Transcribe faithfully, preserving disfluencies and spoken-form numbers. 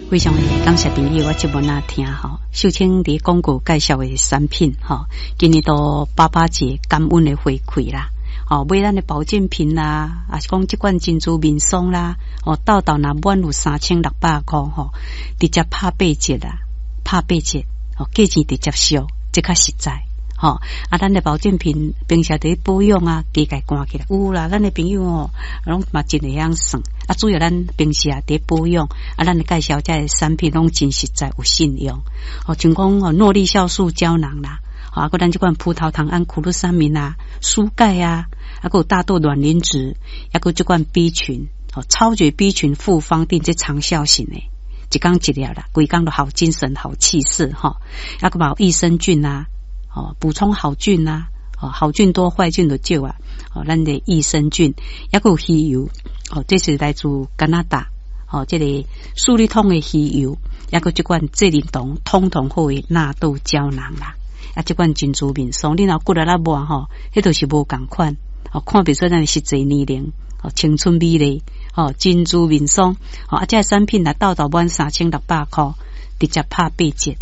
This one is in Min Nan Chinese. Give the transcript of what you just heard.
非常的感謝朋友，我節目若聽吼，秀清佇廣告介紹的產品吼，今年都爸爸節感恩的回饋啦。哦，買咱的保健品啦，抑是講這款珍珠面霜啦，哦，痘痘若滿有三千六百箍吼，直接拍八折啦，拍八折，哦，價錢直接俗，這較實在。吼，啊，咱的保健品平時佇保養啊，加共關起來有啦。咱的朋友吼，攏嘛真會曉算。啊，主要咱平時啊佇保養，啊，咱的介紹這个產品攏真實在，有信用。哦，像講哦，諾麗酵素膠囊啦，啊，閣咱這款葡萄糖胺、苦魯三明啊、舒鈣啊，啊，閣有大豆卵磷脂，抑閣這款 B 群，哦，超絕 B 群複方錠這長效型的，一工一粒啦，規工都好精神、好氣勢吼。啊，閣嘛有益生菌啊。哦，補充好菌啊！哦，好菌多，壞菌就少啊！哦，咱的益生菌，抑閣有魚油，哦，這是來自加拿大，哦，這个舒利通的魚油，抑閣這款濟靈酮通通好的納豆膠囊啦！啊，這款珍珠面霜，你若骨力仔抹吼，彼都是無仝款，哦，看袂出咱的實際年齡，哦，青春美麗，哦，珍珠面霜，哦，啊，這个產品若痘痘滿三千六百箍，直接拍八折，吼。